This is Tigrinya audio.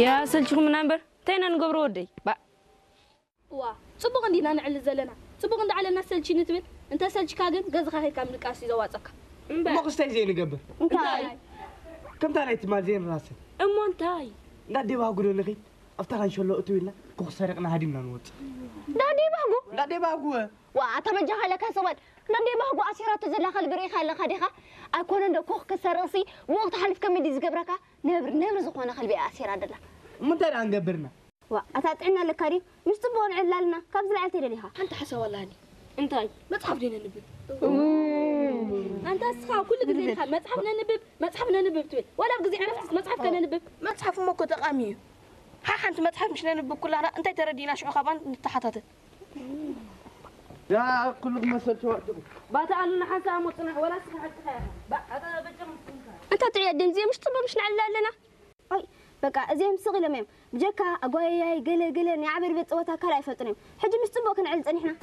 ያሰልችኹምና እምበር እንታይ ኢና ንገብሮ ወደይ? ባእ። እዋ፣ ጽቡቕ እንዲና ንዕልል ዘለና። ጽቡቕ እንዳዓለልና ሰልችኒ ትብል። እንተ ሰልችካ ግን ገዝኻ ከይድካ ምድቃስ እዩ ዘዋጸካ። እምበር እሞ ክስታይ ዘይንገብር እንታይ? ከምታ ናይ ትማል ዘይንራሰን እሞ እንታይ? እንዳዴባ ጉዶ ንኺድ ኣብታ ካንሸሎ እትው ኢልና ኮኽ ሰሪቕና ሃዲምና ንወፅእ ዳዴ ባህጉ እንዳዴባ ጉወ ዋ ኣታ በጃኻ ኢለካ ሰባል ዳዴ ባህጉ ኣሲራቶ ዘላ ከልቢ ርኢኻ ኣለኻ ዲኻ? ኣይኮነ እንዶ ኮኽ ክሰርቕሲ ብወቕቲ ሓሊፍ ከመይ ድዩ ዝገብረካ? ነብሪ ነብሪ ዝኾነ ከልቢ እያ ኣሲራ ደላ። እሞ እንታይ ደኣ ንገብርና ዋ ኣታ ጥዕና ኣለካ ድዩ? ምስ ጽቡቕ ንዕላልና ካብ ዝለዓል ተደሊኻ። ሓንቲ ሓሳብ ኣላኒ። እንታይ? መጽሓፍ ዶ ነንብብ? ኣንታ እስኻ ኩሉ ግዜ ኢኻ መጽሓፍ ነንብብ መጽሓፍ ነንብብ ትብል። ዋላ ኣብ ግዜ ዕረፍትስ መጽሓፍ ከነንብብ። መጽሓፍ እሞ እኮ ጠቓሚ እዩ። ሓሓንቲ መጽሓፍ ምሽ ነንብብ ኩላና እንታይ ተረዲእና ሽዑ ካባን ንተሓታተል። ያ ኩሉ ክመሰል ተዋጥሩ ባታ ኣሉና ሓንሳእ እሞ ጽናሕ ወላ እስኻ ሓቅኻ ኢኻ። ባእ ኣታ በጃኹም ትንካ። እንታ ጥዑያት ድምዚ ምሽ ጽቡቕ ምሽ ንዕላ ኣለና። ኣይ በቃ እዚኦም ስቕ ኢሎም እዮም። ብጀካ ኣጓያያይ ገለ ገለ ናይ ዓበርበት ጸወታ ካልእ ኣይፈልጡን እዮም። ሕጂ ምስ ጽቡቕ ክንዕል ጸኒሕና።